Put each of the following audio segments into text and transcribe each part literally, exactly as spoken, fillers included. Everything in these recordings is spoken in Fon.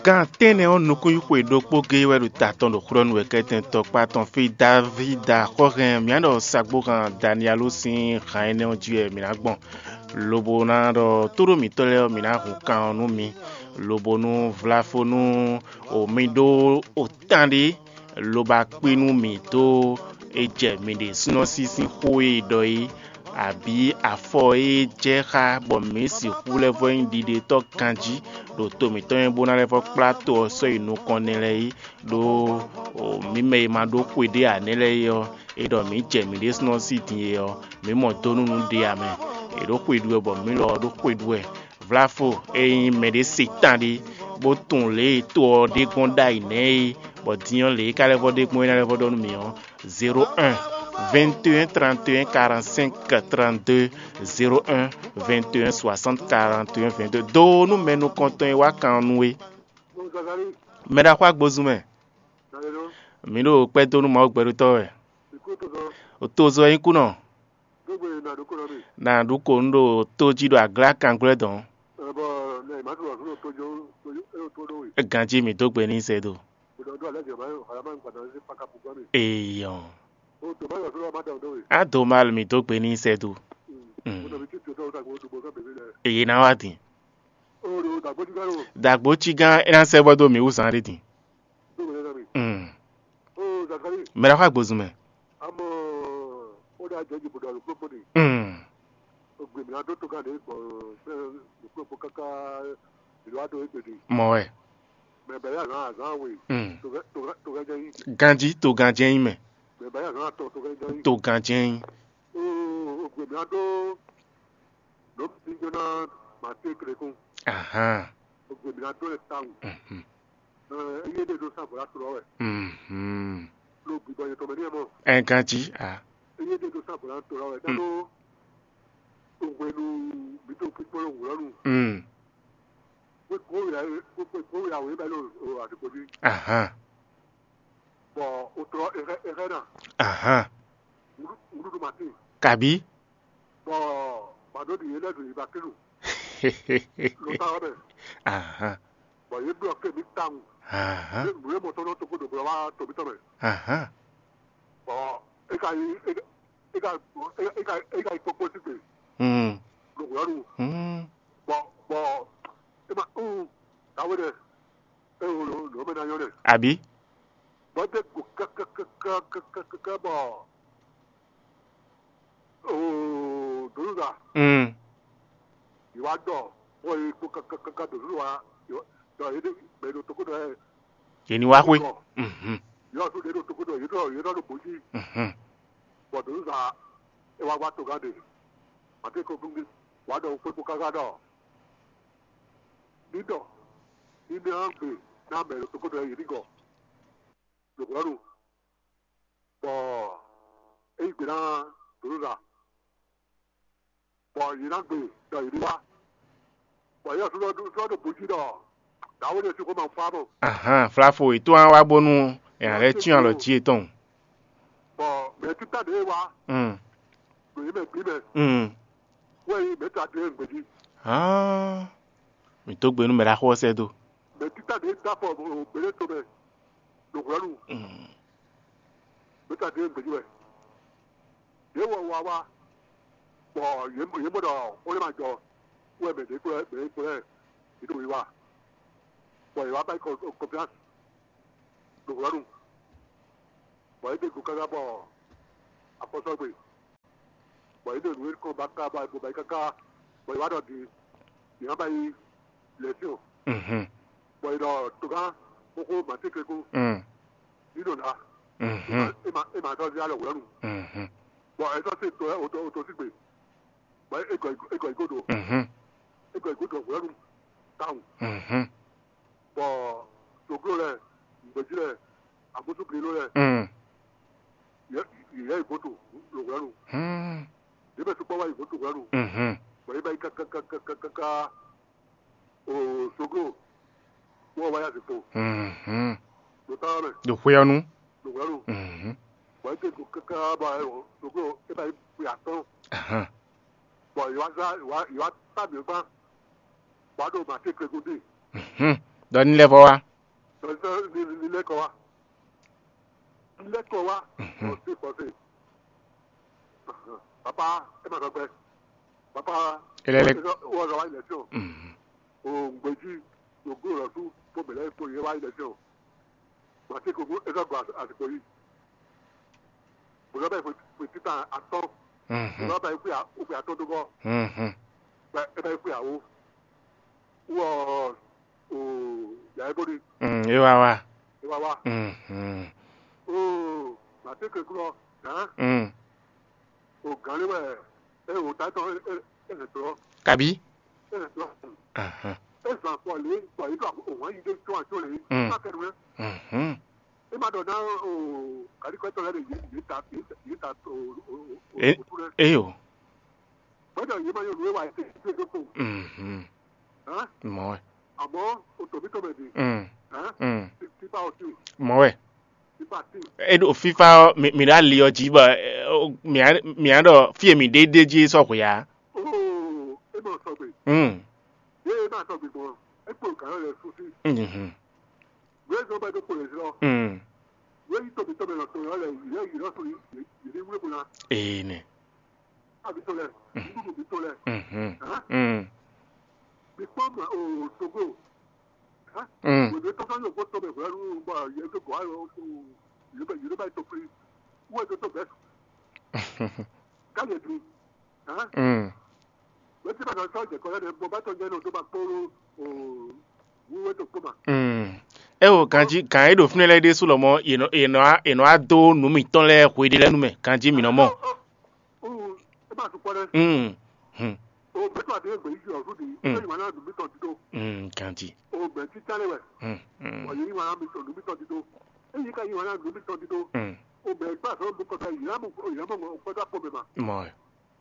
Gan tɛ́nnɛ ɔ́, nukúnxwe ɖokpó géé wɛ ɖo ta tɔn ɖo xwlɔ́nú wɛ kɛ́tɛn tɔkpá tɔn fí. Davída xɔ́hɛn, mǐ ɖɔ sagbóhan Daniyalu sín han énɛ́ ɔ́ jí wɛ mǐ ná gbɔn, lobo ná ɖɔ tóɖó mǐtɔn lɛ́ɛ ɔ́, mǐ ná hun kan ɔ́ nú mi, lobo nú vláfó nú mi ɖó otán ɖé, lobo akpí nú mǐ dó e jɛ mǐ ɖésúnɔ sín sín xó e è ɖɔ é, abǐ afɔ e jɛ xá bɔ mǐ sixú lɛ́ vɔ́ nyí ɖiɖetɔ́ ganjí ɖo to mǐtɔn mɛ bó ná lɛ́ vɔ́ kplá to ɔ́ sɔ́ yi nukɔn nɛ́ lɛ́ɛ é, ɖó mǐ mɛ e ma ɖó xwe ɖé ǎ nɛ́ lɛ́ɛ é ɔ́, è ɖɔ mǐ jɛ mǐ ɖésúnɔ sín din é ɔ́, mǐ mɔ dó nú nǔ ɖé ǎ mɛ. È ɖǒ xwe ɖu wɛ bɔ mǐ lɔ ɔ́ ɖó xwe ɖu wɛ. Vláfo e nyí mɛɖé se tán ɖé, bó tunwun lě e to ɔ́ ɖe gbɔn ɖ'ayǐ nɛ́ é, bɔ din ɔ́ lě e ka lɛ́ vɔ́ ɖe gbɔn é ná lɛ́ vɔ́ ɖɔ nú mǐ ɔ́, zéro un, vingt et un, trente et un, quarante-cinq, trente-deux, zéro un, vingt et un, soixante, quarante et un, vingt-deux. Dó nú mɛ nukɔntɔn e wá kan ɔ́ nú é. Mɛ ɖaxó agbozun mɛ, mǐ ɖo kpɛ́ dó nú Mawu gbɛɖotɔ́ wɛ. Tozɔ ɛ nyí kúnɔ. Nǎ ɖu kǒ nú ɖo tó jí ɖo aglá kanglwɛ́ dɔn. Ganjí mǐ dó gbe n'i sɛ́ do. Eyɔn. Á do mal mǐ dó gbe n'i sɛ́ do. Èyí ná wá din. Dàgbó cí gán é ná sɛ́ vɔ́ dó mǐ wú zán ɖé din. Mɛ ɖaxó agbozun mɛ. Mɔ wɛ. Ganjí to ganjí nyí mɛ. To ganjí nyí. Ahan. Mhm. Ɛ ganjí a. Mm. Ahan. Ahan. Kabi. Ahan. Ahan. Ahan. Mm. Mm. Àbí. Mm. Yě ní wá xwé. Mhm. Mhm. Ní ɖɔ ní ná gbe ná mɛ ɖo toxóɖɔ yě ní gɔ ɖo hwɛ̌nu, bɔ é yí gbe ná Doluza, bɔ yě ná gbe ɖɔ yě ní wá, bɔ yě ɔ́ sɔ́ ɖo bǔ jí ɖɔ dǎwe ɖé sixú ma fá mɔ. Ahan, flafo è tó wá wá bónú è nǎ lɛ́ cyɔ́n alɔ jí yětɔn. Bɔ mɛ̌ títá ɖě wá Mm. Ɖo yě mɛ bǐ mɛ, Mm. Wɛ nyí mɛ̌ ta dó e gbě jí. Hán, mǐ dó gbe nú mɛ ɖaxó ɔ́ sɛ́ dó. Mɛ títá ɖě dó afɔ gběɖé tomɛ ɖo hwɛ̌nu. Mm. Mɛ̌ ta dó e gbě jí wɛ. Yě wɔ wa wá, bɔ yě yě mɔ ɖɔ xó lɛ́ ma jɔ, wɛ mɛ ɖě kplɔ́ mɛ ɖě kplɔ́ yě ɖo wiwa, bɔ yě wá ba yi kɔnfiansi ɖo hwɛ̌nu, bɔ yě ɖe go káká bɔ afɔ sɔ́ gbe. Bɔ yě ɖo nǔ e kɔn ba ká ba bo ba yi káká, bɔ yě wá ɖɔ din, yě ná ba yi lɛ̌ syɔ́n. Mhm. Bɔ yě ɖɔ togán xóxó mǎ tɛ́ntin kú, Mm. ní ɖo ná, Mhm. é ma é ma sɔ́ zé alɔ hwɛ̌nu. Mhm. Bɔ é sɔ́ se to ɛ oto oto sígbe, bɔ é gɔ é gɔ yi gó ɖo Mhm. é gɔ yi gó ɖo hwɛ̌nu tawun. Mhm. Bɔ sogló lɛ, nǔgbɛ́jí lɛ, amúsúkúlú lɛ, Mm. yě yě yá yi gǒ to ɖo hwɛ̌nu. Hmm. Yě mɛ sukpɔ́ wá yi gǒ to hwɛ̌nu. Mhm. Bɔ yě bá yi kákákákákáká o sogló wɔ wá yá zikpo Mhm. Ɖo tá ɔ́ mɛ. Ɖo xwé ɔ́ nu. Ɖo hwɛ̌nu. Mhm. Bɔ yě te go káká bɔ ɛ sogló é bá yi xwe atɔ́ɔ́n. Ahan. Bɔ yě wá zá yě wá yě wá tá mǐ gbán. Bɔ a ɖo mǎ tɛ́ntin kú dí. Mhm. Ɖɔ ní lɛ́ vɔ wá. Ní lɛ́ kɔ wá. Ní lɛ́ kɔ wá. Xɔse xɔse. Papa, é ma sɔgbe. Papa, é lɛ́ lɛ́ wɔ wá ilẹ̀ sí o. O gbèjì, o gbó lɔ sú, bó bẹ̀rẹ̀ kó yẹ wá ilẹ̀ sí o. Màtí kò gbó é sɔgbe àsìkò yìí. Bùnà bá yẹ fwe títà atɔ́. Bùnà bá yẹ fwe atɔ́ dó gɔ́. Bá ẹ bá yẹ fwe àwó. Wɔ o yà é bóni. É wá wá. É wá wá. O màtí kò glɔ gán. O gán lé wɛ é o ta tɔn é é é lè tɔ. Kabi. É lè tɔ. É zan fɔ lé fɔ yìí tó o wọ́n yìí dé tó àjọ lè. Má kẹ́nu rẹ. É má ɖɔ ná o kàdíkọ́tọ̀ lẹ́nu yìí yìí ta yìí ta o o o o. Eyo. Gbọ́dọ̀ yìí máa yọ lóye wá ẹsẹ̀ ìdílé tó kù. Mɔ wɛ. Àmọ́ o tòmí tòmí di. Tipa o ti. Mɔ wɛ. Tipa ti. E ɖo fífá ɔ́, mi mi ɖo ali ɔ́ jí bɔ mi mi ɖɔ fí e mi ɖe ɖe jí sɔ́ hwe ǎ. Oo, e ma sɔgbe. Mm. Ye e ma sɔgbe gbɔn. E kpo gǎn lɛ susi. Mhm. Wézɔ bɛ ɖo kpo lɛ zlɔ. Mm. Wéyi tòmí tòmí lɔ tòmí lɛ yìí lɛ yìí lɔ sɔn yìí yìí wúlò kpo na. Ee nɛ. Abi tɔn lɛ. Ndudu bi tɔn lɛ. Mhm. Hã? Mm. Bi kpɔn ma o Togo. Hã? Mm. Wòde tɔn sɔn yɔ gbɔ tɔn bɛ hwɛ nu bɔ yɛ to gɔ ayɔ o yɛ bɛ yɛ bɛ to kli. Wɔ to to bɛ. Ka yɛ dun. Hã? Mm. Wɛ ti ba dɔ sɔ jɛ kɔ lɛ bɔ ba tɔn jɛ no to ba kpolo o. Wíwé tó kpó ma. Mm. É o ganjí gǎn e ɖo fínɛ́ lɛ́ɛ ɖésú lɔmɔ̌ è nɔ è nɔ wá è nɔ wá dó nǔ mǐtɔn lɛ́ɛ hweɖé lɛ́ɛ nú mɛ ganjí mǐ nɔ mɔ. Ó, ó, é ma sukpɔ́ ɖɛ. Mm. Hmm. O bɛtɔ ati egbe yi ɔ fúdi. Mm. Ó yi wana dùn mí tɔn dídó. Mm, ganjí. O bɛ títá lé wɛ. Mm, mm. Wà yìí wana mi tɔn dùn mí tɔn dídó. É yìí ká yi wana dùn mí tɔn dídó. Mm. O bɛ gbà sɔrɔ mi kɔta yìí lámù yìí lámù kɔta kpɔ mɛ ma. Mɔ ɛ.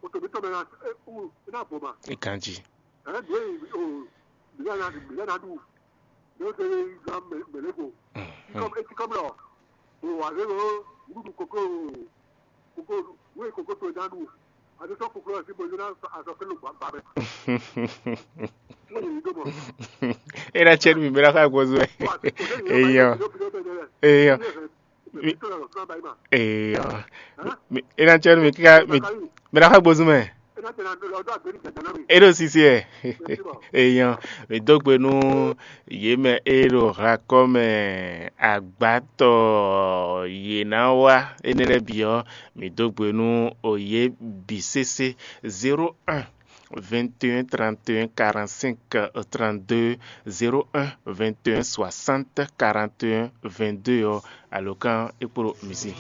O tòmí tɔn mɛ na é wú é ná bɔ ma. Ganjí. Ɛhɛn, mǐ e o mǐ lɛ́ ná mǐ lɛ́ ná ɖu. Mǐ ó zé gán mɛ̌lɛ́go. Tikɔ́m é tikɔ́m lɔ. O wǎ zé lo wúɖuɖu kókó kókó wé kókó to ná ɖu. A ti sɔ́ kókó lɔ sí bɔ é ná azɔ kélé gbàgbà mɛ. Wọ́n yìí dó mɔ. É ná cɛ nú mi, mi ná ká gbɔzú ɛ. Eyɔ. Eyɔ. Mi, eyɔ. Mi, mi, e ná cɛ nú mi kíká mi, mi ná ká gbozú mɛ. E ɖo sisi ɛ. Eyɔ. Mi dó gbe nú yě mɛ e ɖo hlan kɔ́ mɛ agbátɔ yě ná wá énɛ́ lɛ́ɛ bǐ ɔ́, mi dó gbe nú yě bǐ sésé. Zéro un, vingt et un, trente et un, quarante-cinq, trente-deux, zéro un, vingt et un, soixante, quarante et un, vingt-deux ɔ́, alǒkan é kpló mi sí.